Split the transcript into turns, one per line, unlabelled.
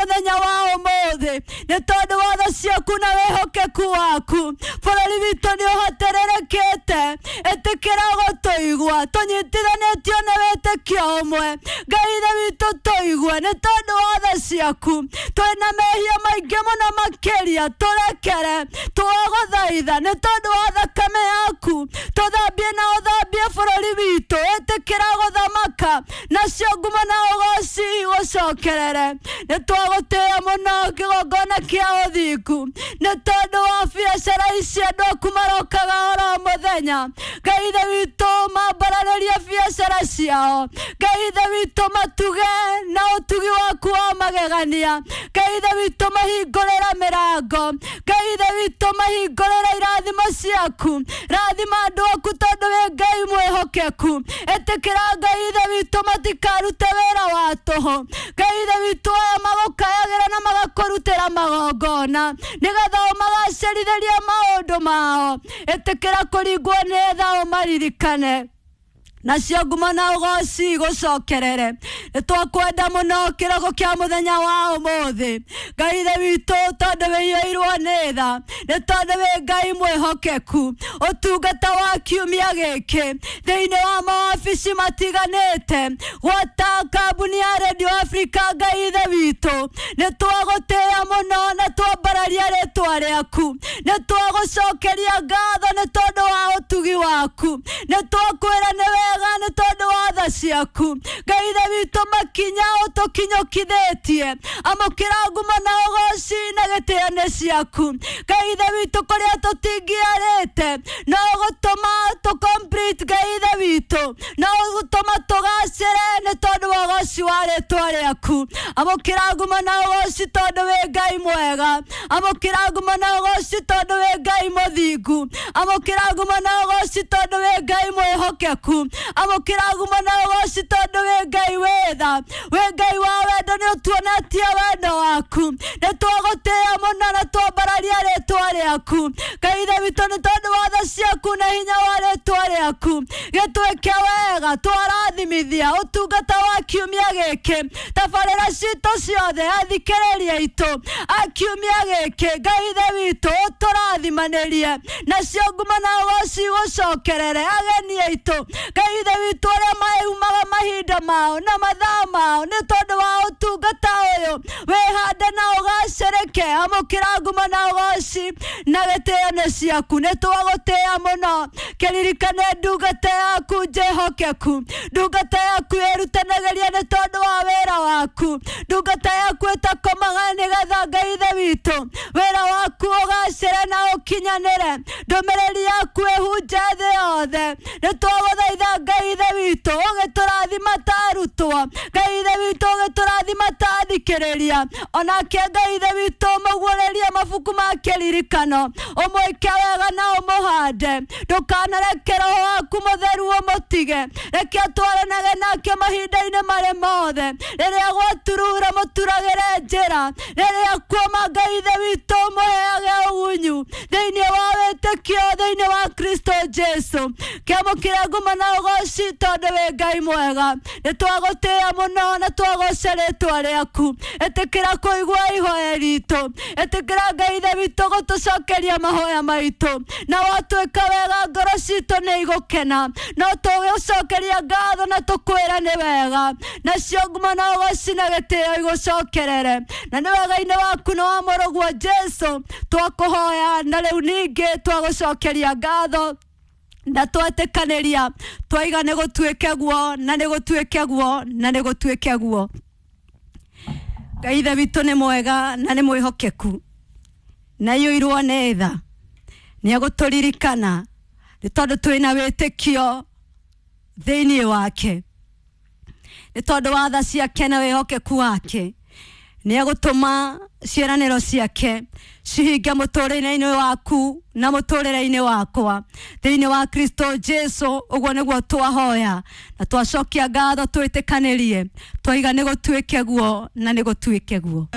Mũthenya wa ũmũthĩ nĩ tondũ wa tha ciaku na wĩhokeku waku, bũrũri witũ nĩ ũhotererekete. Ĩtĩkĩra gũtũigua tũnyitithanĩtio na wĩtĩkio ũmwe. Ngai Ithe witũ, tũigue nĩ tondũ wa tha ciaku. Twĩna mehia maingĩ mũno makĩria, tũrekere. Twagũthaitha nĩ tondũ wa thakame yaku, tũthambie na ũthambie bũrũri witũ. Ĩtĩkĩra gũthamaka, nacio ngumo na ũgoci gũcokerere. Nĩ twagũtĩĩa mũno kĩgongona kĩa ũthingu nĩ tondũ wa biacara ici andũ aku marokaga oro mũthenya. Ngai Ithe witũ, mambararĩrie biacara ciao. Ngai Ithe witũ, matuge na ũtugi waku wa magegania. Ngai Ithe witũ, mahingũrĩra mĩrango. Ngai Ithe witũ, mahingũrĩra irathimo ciaku. Rathima andũ aku tondũ wĩ Ngai mwĩhokeku. Ĩtĩkĩra, Ngai Ithe witũ, matikarute wĩra wa tũhũ. Ngai Ithe witũ, aya magũkayagĩra na magakũrutĩra magongona nĩgetha ũmagacĩrithĩrie maũndũ mao. Ĩtĩkĩra kũringwo nĩ tha, ũmaririkane, nacio ngumo na ũgoci gũcokerere. Nĩ twakwenda mũno kĩroko kĩa mũthenya wa ũmũthĩ, Ngai Ithe witũ, tondũ wĩiyũirwo nĩ tha, nĩ tondũ wĩ Ngai mwĩhokeku. Ũtungata wa kiumia gĩkĩ thĩinĩ wa mawabici matiganĩte gwata kambuni ya Radio Africa, Ngai Ithe witũ, nĩ twagũtĩĩa mũno na twambararia rĩtwa rĩaku. Nĩ twagũcokeria ngatho nĩ tondũ wa ũtugi waku. Nĩ twakwĩra nĩ wega nĩ tondũ wa tha ciaku. Ngai Ithe witũ, makinya ũtũkinyũkithĩtie, amũkĩra ngumo na ũgoci na gĩtĩo nĩ ciaku. Ngai Ithe witũ, kũrĩa tũtingĩarĩte no gũtũma tũ complete, Ngai Ithe witũ, no gũtũma tũgacĩre nĩ tondũ wa ũgoci wa rĩtwa rĩaku. Amũkĩra ngumo na ũgoci tondũ wĩ Ngai mwega. Amũkĩra ngumo na ũgoci tondũ wĩ Ngai mũthingu. Amũkĩra ngumo na ũgoci tondũ wĩ Ngai mwĩhokeku. Amũkĩra ngumo na ũgoci tondũ wĩ Ngai wĩ tha, wĩ Ngai wa wendo. Nĩ ũtuonetie wendo waku. Nĩ twagũtĩĩa mũno na twambararia rĩtwa rĩaku, Ngai Ithe witũ, nĩ tondũ wa tha ciaku na hinya wa rĩtwa rĩaku. Gĩtwĩke wega, twarathimithia ũtungata wa kiumia gĩkĩ, tabarĩra citũ ciothe, athikĩrĩria aitũ a kiumia gĩkĩ. Ngai Ithe witũ, ũtũrathimanĩrie, nacio ngumo na ũgoci gũcokerere. Ageni aitũ, Ngai Ithe witũ, arĩa maumaga mahinda mao na mathaa mao nĩ tondũ wa ũtungata ũyũ, wĩhande na ũgacĩrĩke. Amũkĩra ngumo na ũgoci na gĩtĩo nĩ ciaku. Nĩ twagũtĩĩa mũno. Kĩririkane ndungata yaku njĩhokeku, ndungata yaku ĩrutanagĩria nĩ tondũ wa wĩra waku, ndungata yaku ĩtakomaga nĩgetha, Ngai Ithe witũ, wĩra waku ũgacĩre na ũkinyanĩre, ndũmĩrĩri yaku ĩhunje thĩ yothe. Nĩ twagũthaitha, Ngai Ithe witũ, ũgĩtũrathima ta arutwo. Ngai Ithe witũ, ũgĩtũrathima ta athikĩrĩria. Onake, Ngai Ithe witũ, mũguũrĩrie mabuku ma kĩririkano, ũmwĩke wega na ũmũhande. Ndũkanareke roho waku mũtheru ũmũtige. Reke atwaranage nake mahinda-inĩ marĩ mothe. Rĩrĩa gwaturura, mũturagĩre njĩra. Rĩrĩa kuoma, Ngai Ithe witũ, mũheage ũgunyu thĩinĩ wa wĩtĩkio thĩinĩ wa Kristo Jesu. Kĩamũkĩre ngumo na ũgoci tondũ wĩ Ngai mwega. Nĩ twagũtĩĩa mũno na twagoca rĩtwa rĩaku. Ĩtĩkĩra kũigua ihoya ritũ. Ĩtĩkĩra, Ngai Ithe witũ, gũtũcokeria mahoya maitũ, na watwĩka wega ngoro citũ nĩ igũkena. No tũgũcokeria ngatho na tũkwĩra nĩ wega, nacio ngumo na ũgoci na gĩtĩo igũcokerere. Na nĩ wega-inĩ waku na wa mũrũguo Jesu twakũhoya, na rĩu ningĩ twagũcokeria ngatho na twetĩkanĩria twaiga nĩ gũtuĩke guo, na nĩ gũtuĩke guo, na nĩ gũtuĩke guo. Ngai Ithe witũ nĩ mwega na nĩ mwĩhokeku na iyũirwo nĩ tha. Nĩ egũtũririkana nĩ tondũ twĩna wĩtĩkio thĩinĩ wake, nĩ tondũ wa tha ciake na wĩhokeku wake. Nĩ egũtũma ciĩranĩro ciake cihinge mũtũrĩre-inĩ waku na mũtũrĩre-inĩ wakwa thĩinĩ wa Kristo Jesu. Ũguo nĩguo twahoya na twacokia ngatho, twĩtĩkanĩrie twaiga nĩ gũtuĩke guo, na nĩ gũtuĩke guo.